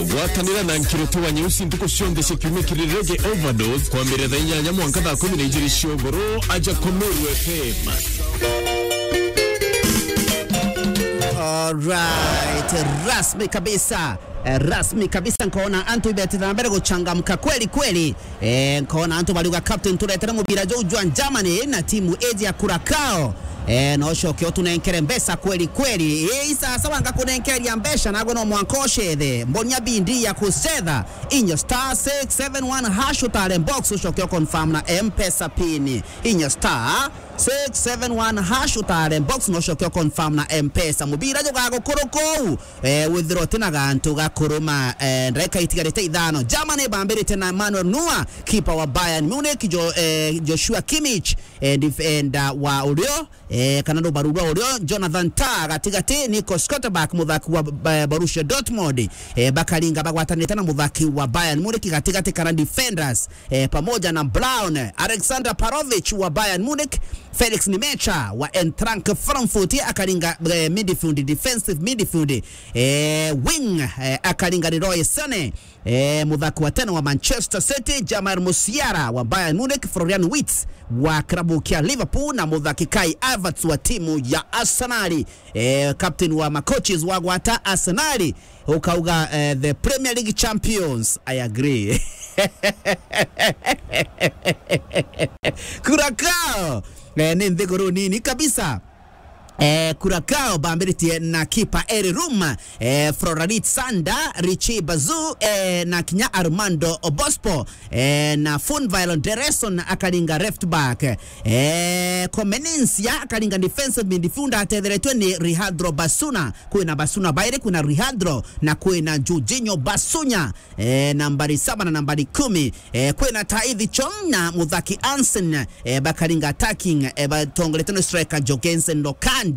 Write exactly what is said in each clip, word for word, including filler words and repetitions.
Gwatanira na Nkiriti wa Nyeusi ntuku cionthe cia kiumia kiri Reggae Overdose, kwambiriria thaa inyanya mwanka thaa kumi na ijiri cia ugoro, aja ku Meru F M. Alright, rasmi kabisa. Eh, rasmi kabisa, nkoona antu ibetithira na mbere guchangamka kweli kweli. Eh, nkoona antu bariuga, "Captain, turetere mubira juu jwa Germany na timu iji ya Curacao." Eh, na ucoke utunenkere mbeca kweli kweli. Eh, i sasa wanga kunenkeria mbeca, nagwe no mwanka ucethe. Mbonia bindi ya kucetha. Inya star six seven one hash utare box, ucoke u confirm na M-Pesa pin. Inya star six seven one hash utare box, no ucoke u confirm na M-Pesa. Mubira jugagukuruka uu. Eh, withirwa uti na gantu ga kuruma, eh, ndagika itigarite ithano. Germany bambirite na Manuel Neuer, keeper wa Bayern Munich, Jo-, eh, Joshua Kimmich, eh, defender wa urio, eh, kana rubaru rwa urio, Jonathan Tah gatigati, Nico Schlotterbeck, muthaki wa, eh, Borussia Dortmund, eh, bakaringa bagwatanite na muthaki wa Bayern Munich gatigati kana defenders, eh, pamoja na Brown, Alexander Pavlovic wa Bayern Munich, Felix Nmecha wa Eintracht Frankfurt akaringa, eh, midfield, defensive midfield, eh, wing, eh, akaringa Leroy Sané, eh, muthaki wa tene wa Manchester City, Jamal Musiala wa Bayern Munich, Florian Wirtz wa klabu kia Liverpool na muthaki Kai Havertz wa timu ya Arsenal. Eh, captain wa macoaches wa gwata Arsenal, ukauga, eh, the Premier League champions. I agree. Curacao, eh, ni nthiguru nini kabisa. Eh, Curacao bambiritie na kipa Eri Rum, eh, Florent Sanda, Richie Bazu, eh, na kinya Armando Obispo, eh, na Fun Violon Dereson akaringa left back. Eh, Comenencia akaringa defensive midfielder atetheretwe ni Leandro Bassuna. Kwina Bassuna bairi, kwina Leandro na kwina Jorginho Bassuna. Eh, nambari saba na nambari kumi. Eh, kwina Tahith Chong na muthaki Hansen, eh, bakaringa attacking, eh, batongoretwe ni striker Jorgensen Lokandia.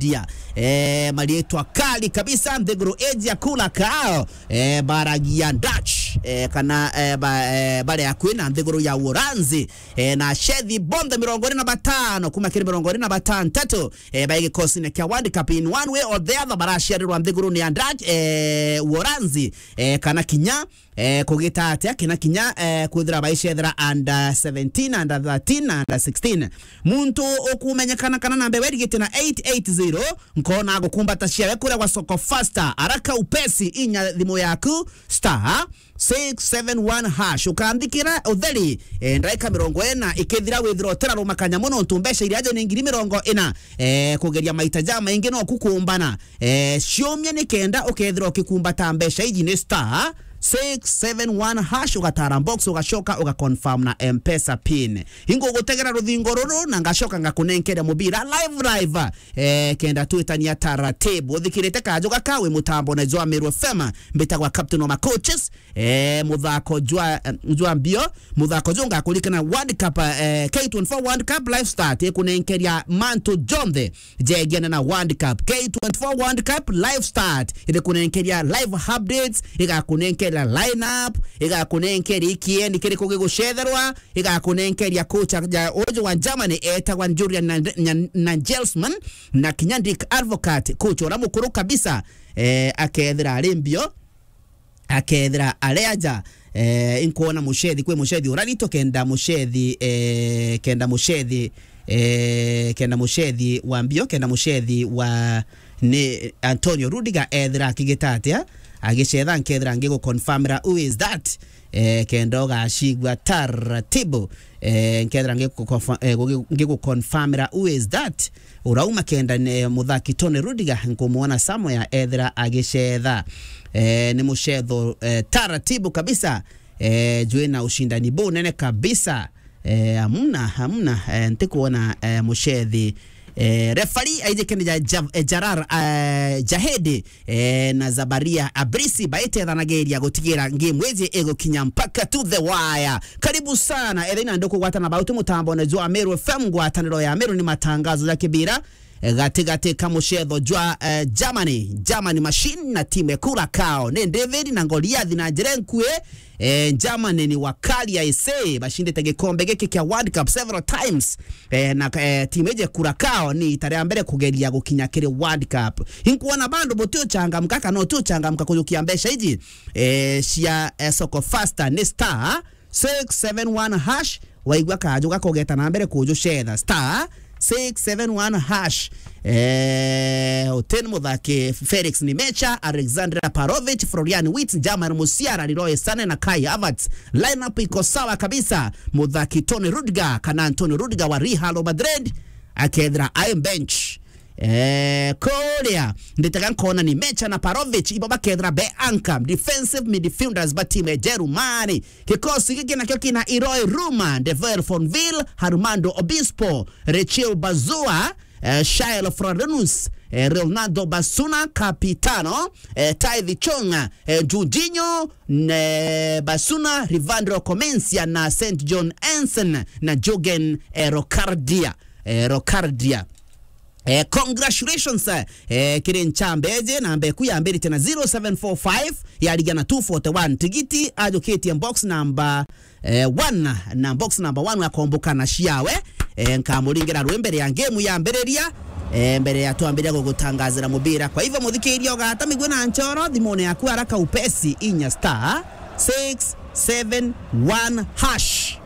Eh, marietwa kali kabisa, nthiguru iji ya Curacao, eh, baragia Dutch, eh, kana, eh, ba, eh, bari akui na nthiguru ya Uholanzi. Eh, na achethi bonthe mirongo iri na batano kuma kiri mirongo iri na batantatu, eh, bai gikosine kia World Cup in one way or the other baraciarirwa nthigurune ya Dutch, eh, Uholanzi, eh, kana kinya, eh, kugita atia, kina kinya, eh, kwithira baicethera under seventeen, under thirteen na under sixteen. Muntu ukumenyekana kana namba ewe irigite na eight eight zero, nkona agukumbata ciawe kuria gwa Soko Faster. Araka upesi, inya thimu yaku, star six seven one hash. Ukanthikira utheri, eh, ndagika mirongo ina ikithira, withira utiraruma kanyamu, nontu mbeca iria aje ni ngiri mirongo ina. Eh, kugeria maita jamaingi no kukumbana. Eh, ciumia nikenda ukethira ukikumbata mbeca iji ni star six seven one hash, ugatara box, ugacoka ugaconfirm na M-Pesa pin. Ingugutegera ruthingo ruru na ngacoka ngakunenkeria mubira live live. Eh, kenda twitania taratibu. Uthikirite kanju gaka wi mutambo na jwa Meru F M, mbitagwa captain wa macoaches. Eh, muthako jwa, jwa mbio, muthako jwa ngakurikana World Cup, eh, K twenty-four World Cup live start ikunenkeria mantu jonthe jegiana na World Cup. K twenty-four World Cup live start irikunenkeria live updates, igakunenkeria lineup, igakunenkeria ikiendi kiriku gigucetherwa, igakunenkeria coach ya uju wa Germany etagwa Julian Nagelsmann, na kinya Dirk Advocaat, coach ura mukuru kabisa, eh, akethira ari mbio, akethira ari aja. Eh, inkwona mucethi, kwi mucethi ura ritu kenda mucethi, eh, kenda mucethi, eh, kenda mucethi wa mbio, kenda mucethi wa ni Antonio Rudiger ethira akigita atia, agicetha, nkethira ngiguconfirmira who is that, eh, kenda ugacigua taratibu, eh, nkethira ngiguconfirmira who is that. Urauma kenda ni muthaki Tony Rudiger, nkumwona somewhere ethira agicetha. Eh, ni mucetho, eh, taratibu kabisa. Eh, jwina ushindani bunene kabisa. Eh, hamna, hamna, eh, ntikuona, eh, mucethi. Eh, refari aijikene ja, ja, eh, Jarar, eh, Jahedi, eh, na Zabaria Abrisi baitethanagiria gutigira game iji igukinya mpaka to the wire. Karibu sana. Ethina ndukugwatana bauti mutambo na jwa Meru F M, ngwataniro ya Meru ni matangazo ya kibira. eh, gatigati ka mucetho jwa, eh, Germany, Germany Machine na timu e Curacao. Ni David na Goliath na njira nkui, eh, Germany ni wakali aise, bacindite gikombe giki kia World Cup several times. Eh, na, eh, timu iji Curacao ni ita ria mbere kugeria gukinya kiri World Cup. Inkuona bandu buti uchangamka kana uti uchangamka kujukia mbeca iji, eh, cia, eh, soko faster ni star six seven one hash. Waigua kaju gakogeta na mbere kujucetha, star six seven one hash. Eh, Oten muthaki, Felix Nimecha, Alexandra Parovic, Florian Wirtz, Jamal Musiala, Leroy Sane na Kai Havertz. Lineup iko sawa kabisa. Muthaki Toni Rudiger, kana Antonio Rudiger wa Real Madrid, akethira ai bench. Eh, kuria nditega nkona Nimecha na Parovic ibo bakethira be anchor defensive midfielders ba timu ya Jerumani. Kikosi giki nakio kina Leroy Ruma, Devil Fonville, Armando Obispo, Rachel Bazua, eh, Shael Florenus, eh, Leonardo Basuna, Capitano, eh, Taithi Chong, eh, Jorginho, ne Basuna, Rivandro Comencia na Saint John Ensen na Jurgen, eh, Rocardia, eh, Rocardia. Eh, congratulations, eh, kiri nchambe iji, namba eku yambirite na zero seven four five, yarigia na two forty-one. Tigiti ajukitie box number, eh, one, na box number one akomboka na ciawe. Eh, nkamuringira rwi mbere ya game yambiriria, eh, mbere ya twambiria gugutangazira mubira. Kwa hivyo, muthikiria, ugata migwi na nchoro thimune yaku haraka upesi, inya star six seven one hash.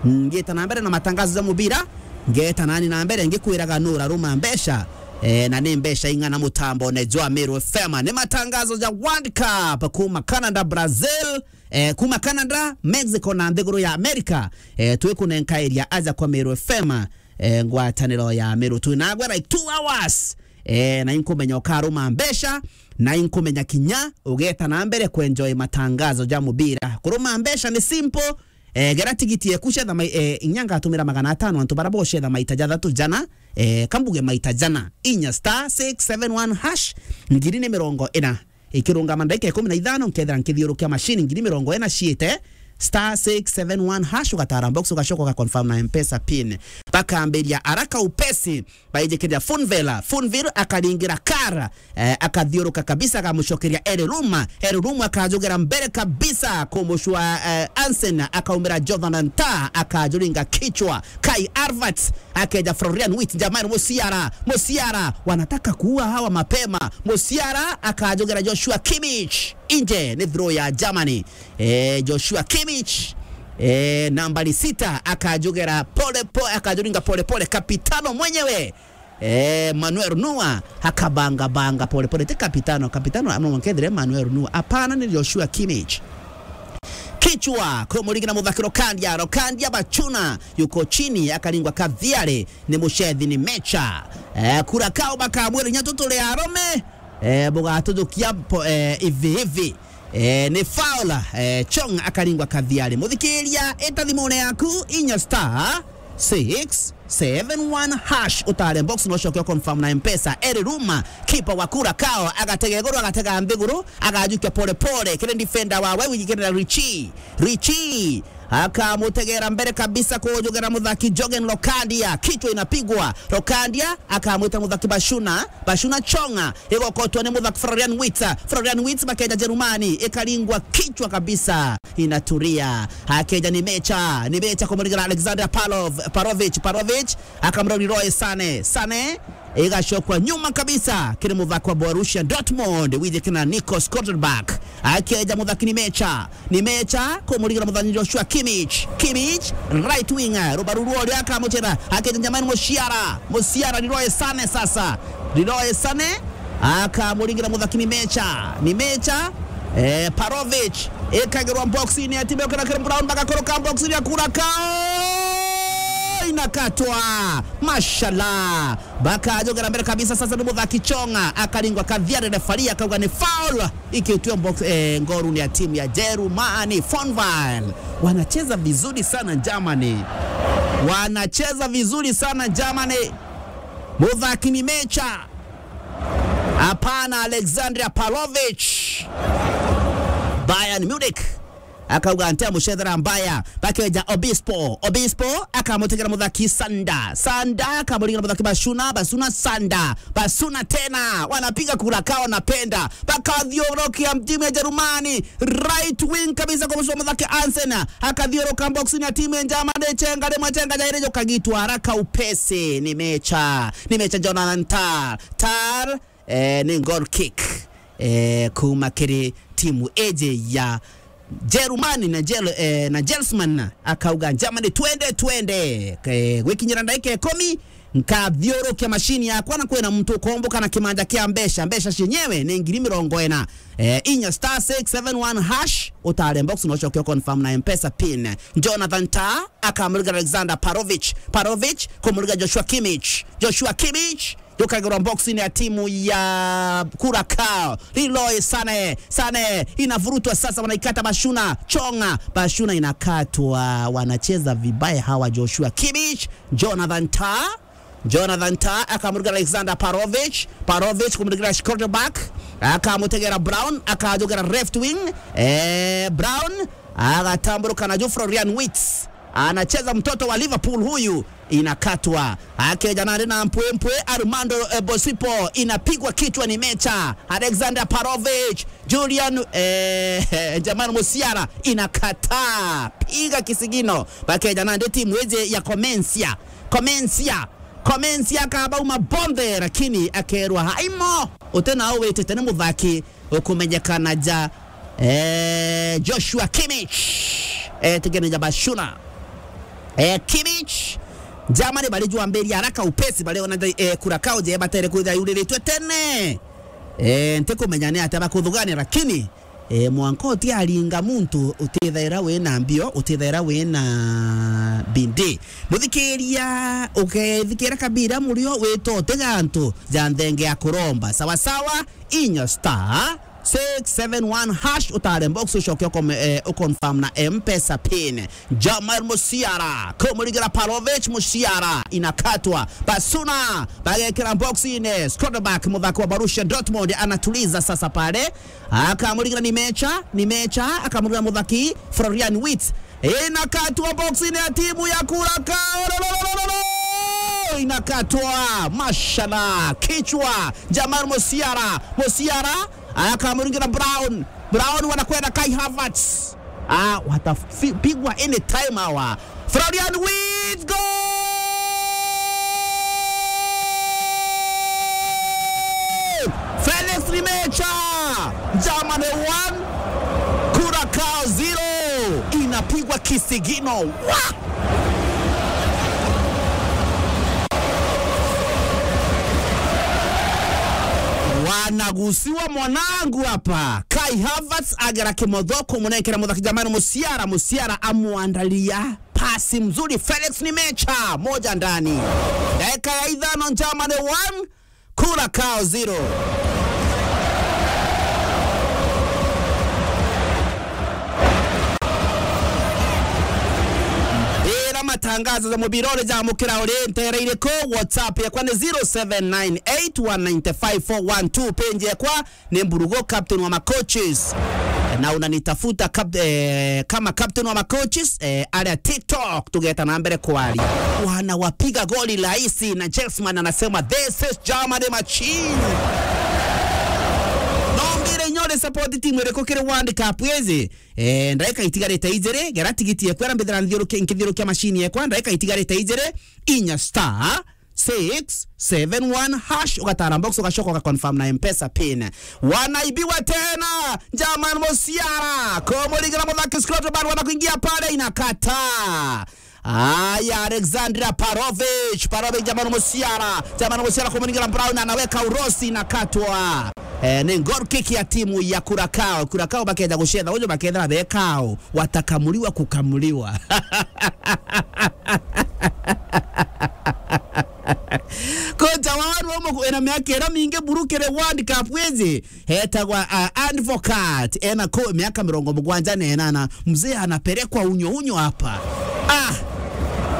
Ngita na mbere na matangazo ja mubira. Ngeta nani na mbere ngikwiraga nura ruma mbeca, eh, na ni mbeca ing'ana mutambone jwa Meru F M. Ni matangazo ja World Cup kuma Canada, Brazil, eh, kuma Canada, Mexico na nthiguru ya America. Eh, twikunenkairia aja kwa Meru F M, eh, ngwataniro ya Meru. Twinagwe like two hours. Eh, na inkumenya ukaruma mbeca, na inkumenya kinya ugeta na mbere kuenjoy matangazo ja mubira. Kuruma mbeca ni simple, Eh, gera tigiti eku cetha mai-, eh, inya ngatumira magana atano antu bara bocetha maita jathatu jana, eh, kambuge maita jana. Inya star six seven one hash, ngiri ni mirongo ina. Ikirungama ndagika ikumi na ithano, nkethira nkithiurukia machine, ngiri mirongo ina ciite, star six seven one hash, ugatara box, ugacoka uga confirm na M-Pesa pin. Bakambiria haraka upesi, baijikirira Fonville, Fonville akaringira Kara, eh, akathiuruka kabisa, agamucokeria Eri Ruma. Eri Ruma akajugera mbere kabisa kumucua, eh, Ansen, akaumira Jonathan Tah, akajuringa kichwa. Kai Havertz, akeja Florian Wirtz, Jamal Musiala, Musiala, wanataka kuua hawa mapema. Musiala akajugera Joshua Kimmich, nje ni throw ya Germany. Eh, Joshua Kimmich, eh, nambari sita, akajugera pole po-, akajuringa pole pole, kapitano mwenyewe. Eh, Manuel Neuer akabanga banga pole pole. Ti kapitano, kapitano no mwanka ethire Manuel Neuer. Hapana, ni Joshua Kimmich. Kichwa, kumuringira muthaki Rokandia, Rokandia Bachuna, yuko chini, akaringwa Kathiare, ni mucethi Nimecha. Eh, Curacao bakamwira inya tu turi arume, eh, bugatujukia po-, eh, hivi hivi. Eh, ni foul, eh, Chong akaringwa Kathiare. Muthikiria, ita thimune yaku, inya star six seven one hash, utare box, no coke confirm na M-Pesa. Eri Ruma, kipa wa Curacao, agatega iguru, agatega nthiguru, agajukia pole pole, kiri defender wawe, wijikirira Richie. Richie akamutegera mbere kabisa kujugera muthaki Jurgen Lokandia, kichwa inapigwa. Lokandia akamwita muthaki Bashuna, Bashuna Chonga, igokotwa ni muthaki Florian Wirtz. Florian Wirtz bakeja Jerumani, ikaringwa kichwa kabisa, inaturia. Akeja Nimecha, Nimecha kumuringira Alexander Palov-, Parovic, Parovic akamrori Leroy Sane, Sane igacokwa nyuma kabisa kiri muthaki wa Borussia Dortmund, wijikirira Nico Schlotterbeck. Akeja muthaki Nimecha, Nimecha kumuringira muthaki Joshua Kimmich, Kimmich, right wing, rubaru ruo ria akamuchera, akeja Jamal Musiala, Musiala, Leroy Sane sasa, Leroy Sane akamuringira muthaki Nimecha, Nimecha, eh, Parovic, ikagirwa box-ini ya timu ya Curacao, Brown, bagakoroka box-ini ya Curacao, inakatwa, mashallah. Bakajogera mbere kabisa, sasa ni muthaki Chonga, akaringwa Kathiare, referee akauga ni foul, ikitwe box, eh, ngoruni ya timu ya Jerumani, Fonville. Wanacheza vizuri sana Germany. Wanacheza vizuri sana Germany. Muthaki Nimecha. Hapana, Alexandria Pavlovic. Bayern Munich. Akauga, "Ntiamucethera mbaya." Bakeja Obispo. Obispo akamutegera muthaki Sanda. Sanda akamuring'ira muthaki Bashuna. Bashuna, Sanda. Bashuna tena. Wanapiga kura kao napenda. Bakathiurukia timu ya Jerumani. Right wing kabisa kwa muthaki Hansen. Akathiuruka box-ini ya timu ya Germany. Chenga rimwe, chenga jairi, jukagitwa haraka upesi. Ni Mecha. Ni Mecha Jonathan Tah. Tah, eh, ni goal kick, eh, kuma kiri timu iji ya Jerumani na Jel-, eh, na Jelsman. Akauga, "Germany, twende, twende." Eh, gwikinyira ndagika ikumi, nkathiurukia mashini yakwa na kwina muntu ukomboka na kimanja kia mbeca. Mbeca cienyewe ni ngiri mirongo ina. Eh, inya star six seven one hash, utare box na ucoke confirm na M-Pesa pin. Jonathan Tah akamurigara Alexander Parovich. Parovich kumurigara Joshua Kimmich. Joshua Kimmich yukagirwa box-ini ya timu ya Curacao. Leroy Sane. Sane inavurutwa sasa, wanaikata Bashuna. Chonga. Bashuna inakatwa. Wanacheza vibaya hawa. Joshua Kimmich, Jonathan Tah. Jonathan Tah akamurigara Alexander Parovich. Parovich kumurigara Schlotterbeck. Akamutegera Brown. Akajogera left wing. Eh, Brown agatamburuka na juu Florian Wirtz. Anacheza mtoto wa Liverpool huyu. Inakatwa. Akeja nandi na mpwempwe Armando, eh, Bosipo. Inapigwa kichwa ni Mecha. Alexander Parovich. Julian, eh, Jamal Musiala. Inakataa. Piga kisigino. Bakeja nandi timu iji ya Comencia. Comencia. Comencia akabauma bonthe, lakini akerwa, "Haimo. Uti nau witite ni muthaki ukumenyekana ja, eh, Joshua Kimmich." Eh, tigene ja Bashuna. Eh, Kimmich. Germany bari jwambiria haraka upesi, bari ona, eh, Curacao je batere kwithira yuriritwe tene. Eh, ntikumenya ni atia bakuthugania, lakini, eh, mwanka utiaringa muntu utithaira wina mbio, utithaira wina bindi. Muthikiria, ukethikira kabira murio witote gantu ja nthenge ya kuromba. Sawa sawa, inya star six seven one hash, utare box, ucoke ukome-, eh, uconfirm na M-Pesa pin. Jamal Musiala, kumurigara Parovich. Musiala, inakatwa. Bashuna, bagekira box-ini. Schlotterbeck, muthaki wa Borussia Dortmund, anatuliza sasa pale. Akamurigara ni Mecha, ni Mecha, akamurigara muthaki Florian Wirtz. Inakatwa box-ini ya timu ya Curacao. Lo, lo, lo, lo, lo, lo! Inakatwa. Mashallah. Kichwa. Jamal Musiala. Musiala. Akamuringira Brown. Brown wanakwenda Kai Havertz. Ah, watapigwa anytime hawa. Florian Wirtz, goal! Felix Rimecha, Germany one, Curacao zero. Inapigwa kisigino. Wa! Wanagusiwa mwanangu hapa. Kai Havertz agera kimotho kumunenkera muthaki Jamal Musiala, Musiala amwandalia pasi mzuri. Felix Rimecha, moja ndani. Dakika ya ithano, Germany one, Curacao zero. Ira matangazo ja mubira uri jamukira uri ntera iriku? WhatsApp yakwa ni zero seven nine eight one nine five four one two. Page yakwa ni Mburugo, captain wa macoaches. Na unanitafuta cap-, eh, kama captain wa macoaches, eh, aria TikTok, tugeta na mbere kwaria. Wanawapiga goli rahisi, na Jelsman anasema, "This is Germany machine." Nombire inya uri support timu iriku kiri World Cup iji? Eh, ndagika itigarite ijiri, gera tigiti ekwa ira mbithira nthiurukia, nkithiurukia machine yekwa, ndagika itigarite ijiri, inya star six seven one hash, ugatara box, ugacoka ugaconfirm na M-Pesa pin. Wanaibiwa tena, Jamal Musiala, kumuringira muthaki Scott Barua na kuingia pale, inakata. Aya, Alexandra Parovich, Parovich, Jamal Musiala, Jamal Musiala kumuringira Brown, anaweka urosi, inakatwa. Eh, ni goal kick ya timu ya Curacao. Curacao bakeja gucetha uju, bakethira bekao, watakamuliwa kukamuliwa. Kocha wa Roma ena miaka ira mingi buru kiri World Cup iji, etagwa, ah, Advocaat, ena ko miaka mirongo mugwanja na inana. Mzee anapelekwa unyo unyo hapa. Ah!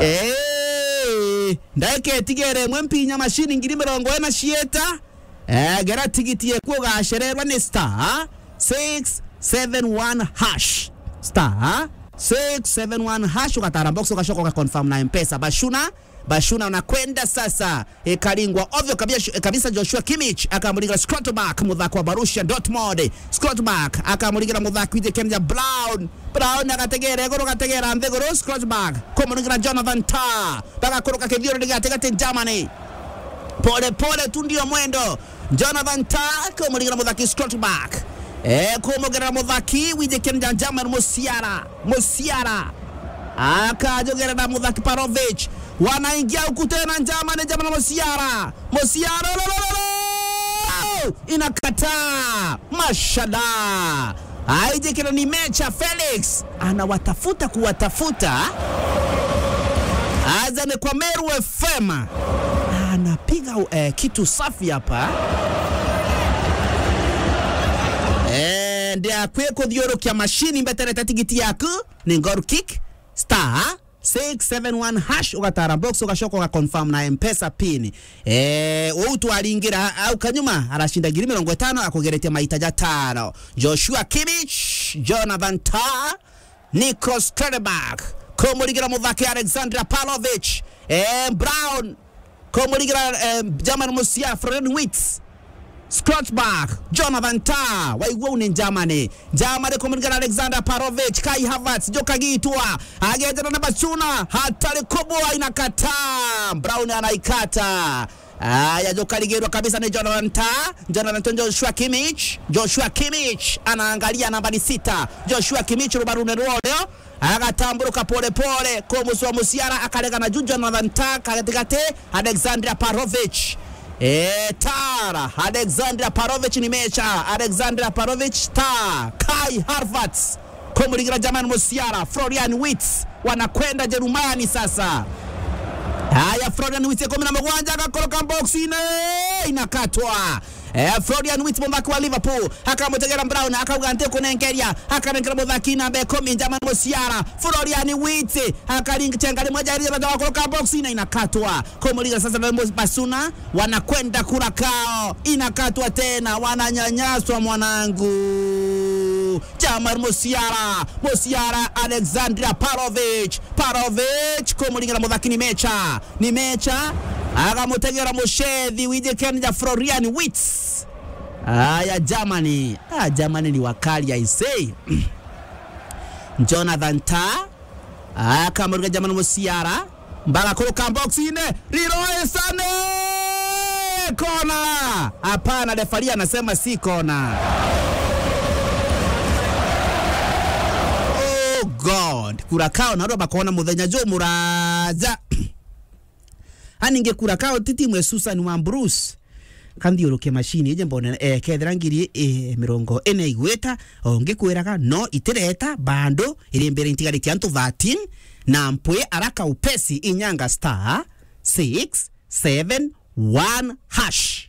Eh! Ndagika itigere imwe, mpinya mashini ngiri mirongo ina cieta. Eh, gera tigiti eku ugacererwa ni star six seven one hash. star six seven one hash, ugatara box, ugacoka ugaconfirm na M-Pesa. Bashuna, Bashuna unakwenda sasa. Ikaringwa ovyo kabisa, kabisa. Joshua Kimmich akamuringira Schlotterbeck, muthaki wa Borussia Dortmund. Schlotterbeck akamuringira muthaki wiji Kenja Brown. Brown agategera iguru, agategera nthi iguru. Schlotterbeck kumuringira Jonathan Tah. Bagakuruka kithiururi giatigati Germany. Pole pole tu ndio mwendo. Jonathan Tah kumuringira muthaki Schlotterbeck. Eh, kumugerera muthaki wiji Kenja Germany Musiala. Musiala. Akajugerera muthaki Pavlovic. Wanaingia huku tena Germany, Germany Musiala. Musiala, lo, lo, lo, lo! Inakataa. Mashallah. Aijikira ni mecha Felix. Anawatafuta kuwatafuta. Aza ni kwa Meru F M. Anapiga, eh, kitu safi hapa. Eh, ndia kwe kuthiurukia mashini mbeterete tigiti yaku. Ni goal kick. Star six seven one hash, ugatara box, ugacoka ugaconfirm na M-Pesa pin. Eh, uu twaringira au kanyuma, arashinda ngiri mirongo itano, akugeretie maita jatano. Joshua Kimmich, Jonathan Tah, Nico Schlotterbeck, kumuringira muthaki Alexander Pavlovic, eh, Brown, kumuringira, eh, German Musiala, Florian Wirtz, Schlotterbeck, Jonathan Tah, waigua uu ni Germany. Germany kumuringira Alexander Pavlovic, Kai Havertz, jukagitwa, agejana na Bashuna, hatari kubwa inakataa, Brown anaikata. Aya, jukarigirwa kabisa ni Jonathan Tah, Jonathan Tah, Joshua Kimmich, Joshua Kimmich, anaangalia nambari sita, Joshua Kimmich, rubarune rwoleo, agatamburuka pole pole, kumuswa Musiala, akaregana juu, Jonathan Tah, katikati, Alexander Pavlovic. Eh, Tara, Alexander Pavlovic ni mecha, Alexander Pavlovic, Tah, Kai Havertz, kumuringira Germany Musiala, Florian Wirtz, wanakwenda Jerumani sasa. Haya, Florian Wirtz ya kumi na mugwanja, agakoroka box ine, inakatwa. Eh, Florian Wirtz, muthaki wa Liverpool, akamutegera Brown, akauga nti kunenkeria, akanengera muthaki namba ikumi, Germany Musiala. Florian Wirtz, akaringa chenga rimwe, jari jara jwa kuruka box ine inakatwa. Kumuringa sasa na Bashuna, wanakwenda Curacao, inakatwa tena, wananyanyaswa mwanangu. Germany Musiala, Musiala, Alexander Pavlovic, Pavlovic, kumuringira muthaki ni mecha. Ni mecha, agamutegera mucethi wiji Kenja Florian Wirtz. Aya, Germany. Ah, Germany ni wakali, I say. Jonathan Tah, akamuringa Germany Musiala. Mbaga kuruka box ine. Leroy Sané! Kona! Hapana, referee anasema si kona. Oh God. Curacao narua bakona muthenya jumuraja. Ani nge Curacao ti timu ya Susan wa Bruce. Kanthiurukie mashini ije mbone, eh, kethira ngiri, eh, mirongo ine igwita, o ngikwiraga no itireta, bado iri mbere intigarite antu thirteen, na mpwi araka upesi inyanga star six seven one hash.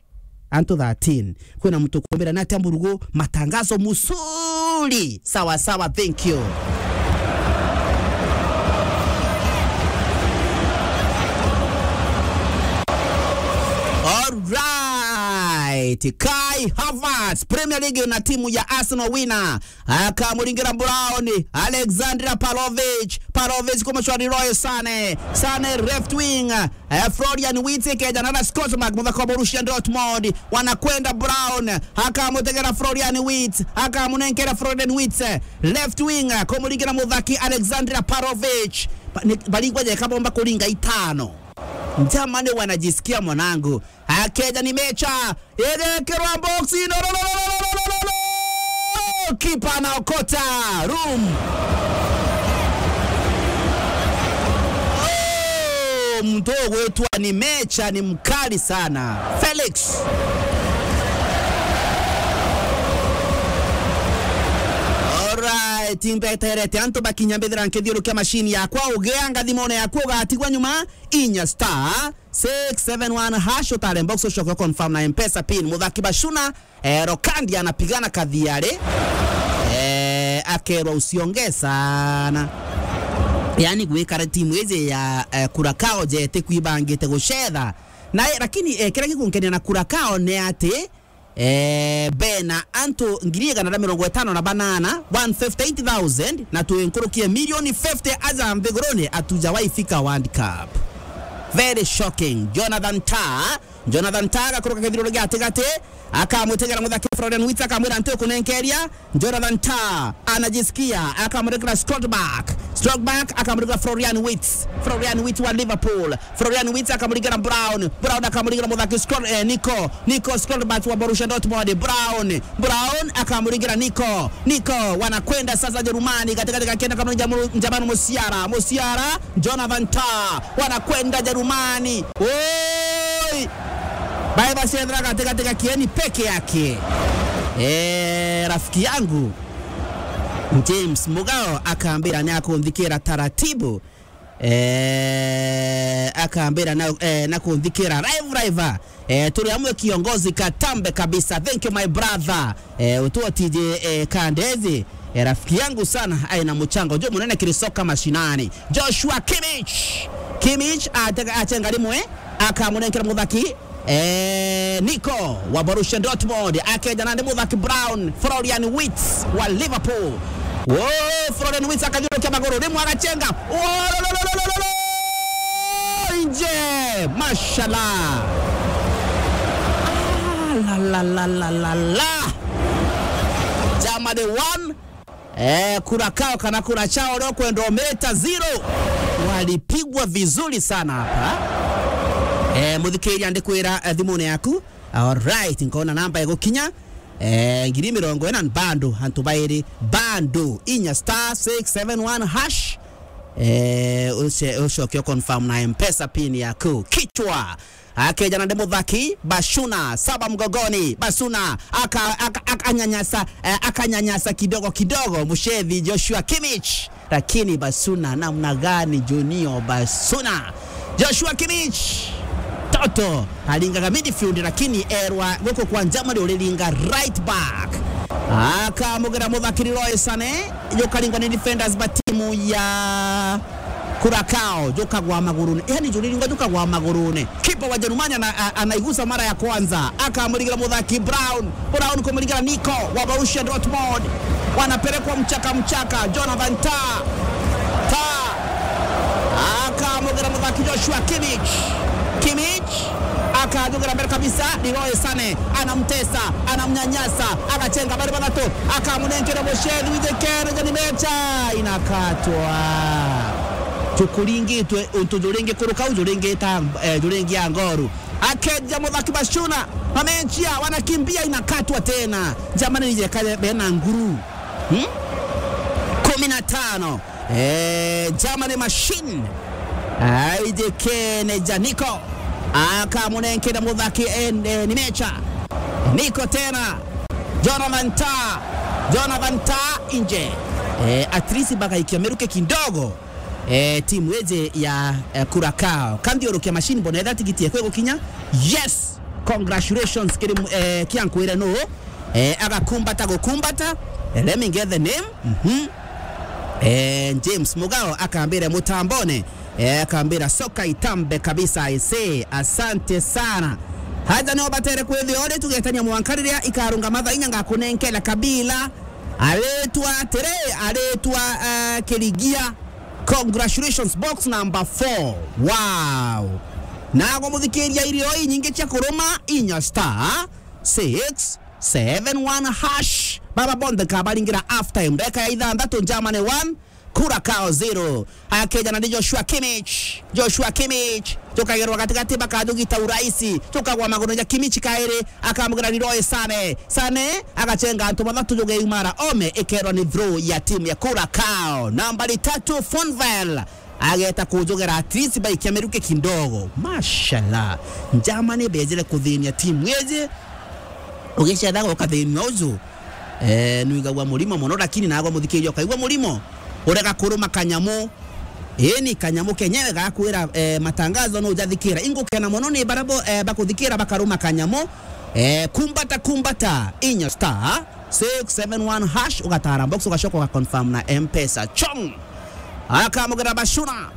Antu thirteen. Kwina muntu kumbira ni atia Mburugu, matangazo musuri. Sawa sawa, thank you. All right. Kai Havertz, Premier League na timu ya Arsenal wina. Akamuringira Brown, Alexander Pavlovic, Pavlovic kumucwari Leroy Sané, Sané left wing, eh, Florian Wirtz, kijana na Scotland, muthaka wa Borussia Dortmund, wanakwenda Brown, akamutegera Florian Wirtz, akamunenkera Florian Wirtz, eh, left wing, eh, kumuringira muthaki Alexander Pavlovic. Ba-, ni-, baringwa jeka bomba kuringa itano. Germany wanajisikia mwanangu. Akeja ni mecha. Igekirwa box. No, no, no, no. Kipa anaokota. Room. Oh, mtu ugwitwa ni mecha ni mkali sana. Felix. Alright, imbeterete antu bakinya mbithira nkithiurukia mashini yakwa, ugea ngathimone yakwa ugatigwa nyuma. Inya star six seven one hash, utare box ucoke confirm na M-Pesa pin. Muthaki Bashuna, eh, Rokandi anapigana kathiari. Eh, akerwa usiongee sana. Yani gwikara timu iji ya, eh, Curacao jete kwibangite gucetha. Na, eh, lakini, eh, kiria gikunkenia na Curacao ni ati Eh, bena antu ngiri igana na mirongo itano na banana, one fifty-eight thousand, na twi nkuruki ya milioni fifty aja nthiguruni atuja waifika World Cup. Very shocking. Jonathan Tah, Jonathan Tah agakuruka kithiruro gia gatigati, akamwitigera muthaki Florian Wirtz, akamwira, "Ntikunenkeria." Jonathan Tah anajisikia, akamurikira Scott Back. Scott Back akamurikira Florian Wirtz. Florian Wirtz wa Liverpool. Florian Wirtz akamurikira Brown. Brown akamurikira muthaki Scott, eh, Nico. Nico Scott Back wa Borussia Dortmund. Brown. Brown akamurikira Nico. Nico wanakwenda sasa Jerumani, katikati kakienda kama Njamu-, Njamanu Musiala. Musiala, Jonathan Tah wanakwenda Jerumani. Oi! Bae bacethera katikati ga kieni peke yake. Eh, rafiki yangu James Mugao akambira ni akunthikira taratibu. Eh, akambira na, eh, na kunthikira live, live. Eh, turi amwe kiongozi katambe kabisa. Thank you, my brother. Eh, utuotije, eh, Kandezi. Eh, rafiki yangu sana, aina mchango jo munene kiri soka mashinani. Joshua Kimmich. Kimmich atega, achenga rimwe, akamunenkera muthaki, eh, Nico wa Borussia Dortmund. Akeja nandi muthaki Brown, Florian Wirtz wa Liverpool. Wo, Florian Wirtz akathiurukia maguru, rimwe agachenga. Wo, lo, lo, lo, lo, lo, lo, lo, nje. Mashallah. Ah, la, la, la, la, la, la. Germany one, eh, Curacao kana Curacao leo kwenda umeta zero. Walipigwa vizuri sana hapa. Eh, muthikiria ndikwira, eh, thimune yaku. Alright, nkona namba igukinya. Eh, ngiri mirongo ina bando, antu bairi bando, inya star six seven one hash. Eh, uce-, ucoke confirm na M-Pesa pin yaku. Kichwa. Akeja nandi muthaki, Bashuna, saba mgogoni, Bashuna, aka-, aka-, akanyanyasa, eh, akanyanyasa kidogo kidogo, mushethi Joshua Kimmich. Lakini Bashuna, namna gani Junior Bashuna? Joshua Kimmich, toto, aringaga midfield, lakini erwa guku kwa Germany uriringa right back. Akamugira muthaki Leroy Sané, jukaringwa ni defenders ba timu ya Curacao, jukagwa magurune. Yani, juriringwa jukagwa magurune. Kipa wa Jerumani ana-, a-, anaigusa mara ya kwanza. Akamurigira muthaki Brown. Brown kumurigira Nico wa Borussia Dortmund. Wanapelekwa mchaka mchaka. Jonathan Tah. Tah. Akamugira muthaki Joshua Kimmich. Kimmich. Akajugira mbere kabisa. Leroy Sané. Anamtesa. Anamnyanyasa. Agachenga bari bathatu. Akamunenkera mucethi withikene jani mecha. Inakatwa. Tukuringitwe untu juringi kuruka u juringi ta, eh, juringi ya ngoru. Akeja muthaki Bashuna, mamenchia wanakimbia, inakatwa tena. Germany nije kaje bena nguru. Hmm? Kumi na tano. Eh, Germany machine. Aijikene ja Nico. Akamunenkera muthaki, eh, eh, ni mecha. Nico tena. Jonathan Tah. Jonathan Tah inje. Eh, at least bagaikia miruke kidogo. Eh, timu iji ya, eh, Curacao. Kanthiurukia machine mbona etha tigiti ekwe gukinya. Yes! Congratulations kiri mu-, eh, kia nkwire nu. Eh, agakumbata gukumbata. Eh, let me get the name. Mhm. Eh, James Mugao akambira mutambone. Eh, akambira soka itambe kabisa, I say. Asante sana. Haja no batere kwithia uri tugetania mwanka riria ikarunga mathaa inya ngakunenkera kabila. Aritwa atiri, aritwa, eh, Kirigia. Congratulations, box number four. Wow. Nago muthikiria irio inyingi cia kuruma inya star six seven one hash. Baba bonthe kabaringira half time. Ndeka ya ithanthatu, Germany one, Curacao zero. Akeja nandi Joshua Kimmich. Joshua Kimmich. Jukagerwa gatigati, bakajugita uraisi. Jukagwa maguru ja Kimmich kairi. Akamugira Leroy Sané. Sané agachenga antu bathatu, jugeumara ome, ikerwa ni throw ya timu ya Curacao. Nambari tatu, Fonval. Ageta kujugera at least baikia miruke kidogo. Mashallah. Germany bejire kuthinia timu iji. Ugicethaga ukathinua uju. Eh, nwigagua murimo muno, lakini nagwa muthikiria ukaigua murimo. Urega kuruma kanyamu. Ii ni kanyamu kenyewe gakwira, eh, matangazo no ujathikira. Ingukena muno ni bara bo, eh, bakuthikira bakaruma kanyamu. Eh, kumbata, kumbata, inya star six seven one hash, ugatara box, ugacoka ugaconfirm na M-Pesa. Chong! Akamugira Bashuna.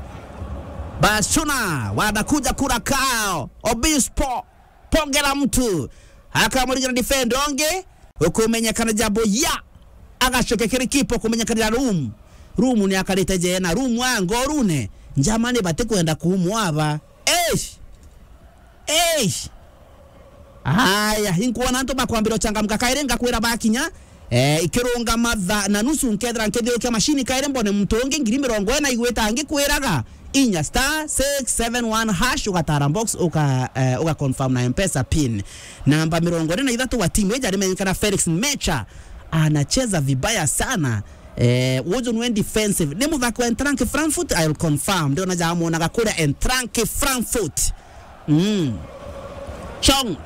Bashuna, wanakuja Curacao. Obispo, pongera mtu. Akamuringira defender ungi, ukumenyekana Jabu ya. Agacokia kiri kipa, ukumenyekanira Room. Room ni akarite jena, Room wa ngorune. Germany batikwenda kuumwa aba. Eish! Eish! Aya, inkwona antu bakwambira uchangamka kairi, ngakwira bakinya, eh, ikirungama thaa na nusu, nkethira nkithiurukia mashini kairi, mbone muntu ungi ngiri mirongo ina igwita ngikwiraga, inya star six seven one hash, ugatara box, uka, eh, uga confirm na M-Pesa pin. Namba mirongo ina na ithatu wa timu iji arimenyekana Felix Mecha, anacheza vibaya sana. Eh, uju nwe defensive. Ni muthaki wa Eintracht Frankfurt, I'll confirm. Ndiona jamwonaga kuria Eintracht Frankfurt. Mm. Chong.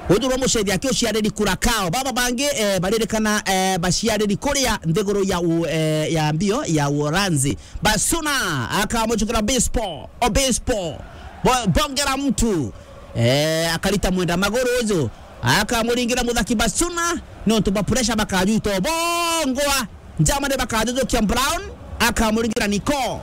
Uju nwe mucethi aki uciariri Curacao. Baba bangi, eh, baririkana, eh, baciariri kuria nthiguru ya u-, eh, ya mbio ya Uholanzi. Basuna akamuchukira Obispo. Obispo. Bo-, bongera mtu. Eh, akarita mwenda maguru uju. Akamuringira muthaki Basuna. Nontu ba pressure bakajwita bongwa. Germany bakajujukia Brown, akamuringira Nico.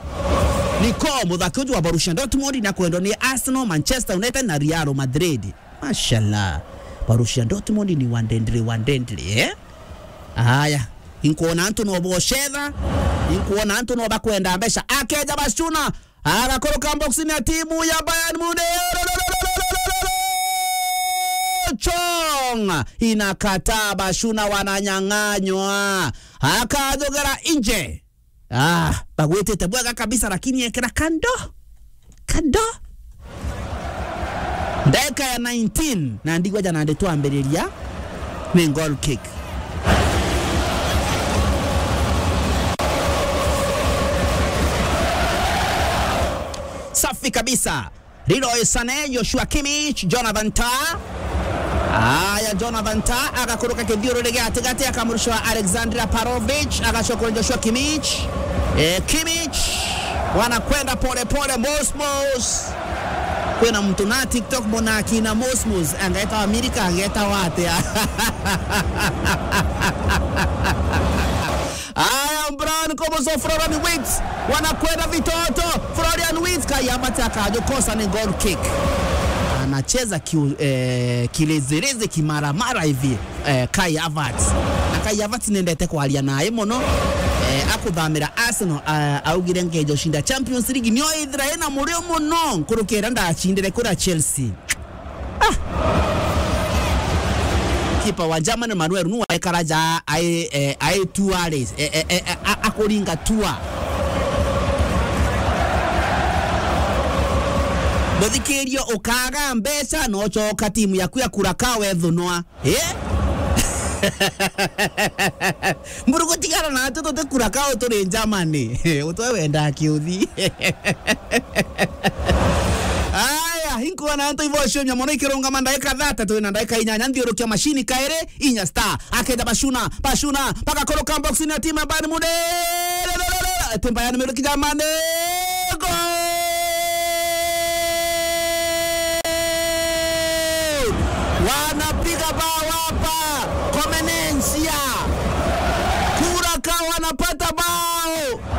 Nico, muthaki uju wa Borussia Dortmund, nakwendwa ni Arsenal, Manchester United na Real Madrid. Mashallah. Borussia Dortmund ni wandendere, wandendere, eh? Aya, inkwona antu no bocetha, inkwona antu no bakwenda mbeca. Akeja Basuna, agakuruka boxini ya timu ya Bayern Munich. Chong inakataa, Basuna wananyang'anywa. Akajogera nje. Ah, bagwitite bwega kabisa, lakini ekera kando. Kando. Ndagika ya nineteen, na ndigwa jana ndi twambiriria, ni goal kick. Safi kabisa. Leroy Sané, Joshua Kimmich, Jonathan Tah. Aya, Jonathan Tah agakuruka kithiururi gia gatigati, akamurusha Alexander Laparovic, agacoka kuri Joshua Kimmich. Eh, Kimmich wanakwenda pole pole, mos mos. Kwina mtu na TikTok mbona akina mos mos, angetawa Amerika, angetawa atia? Aya, Brown koboso Florian Wirtz. Wanakwenda vitoto. Florian Wirtz, Kai Havertz akajukosa ni goal kick. Anacheza ki, eh, kilezereze kimaramara hivi, eh, Kai Havertz. Na Kai Havertz nendete kwaria naye mono. Eh, akuthamira Arsenal, ah, augire ngejo shinda Champions League. Nio ithira ina murio mono. Nkurukira ndachindire kura Chelsea. Ah! Kipa wa Germany Manuel Neuer ekara ja ai, eh, ai tuare, eh, eh, eh, a-, a-, akuringa tua. Muthikirio ukaga mbeca na ucoka timu yaku ya Curacao wethunwa. Eh? Mburu gutigara na atu tuti Curacao turi Germany. Utwe wenda kiuthi. Aya, inkwona antu ibo ciumia mono ikirungama ndagika thirty, twina ndagika inyanya, nthiurukia mashini kairi, inya star. Akenda Bashuna, Bashuna, bagakuruka box-ini ya timu ya Bayern Munich. Timu Bayern Munich jamani. Goal! Wanapiga bao hapa. Komenencia. Curacao wanapata bao.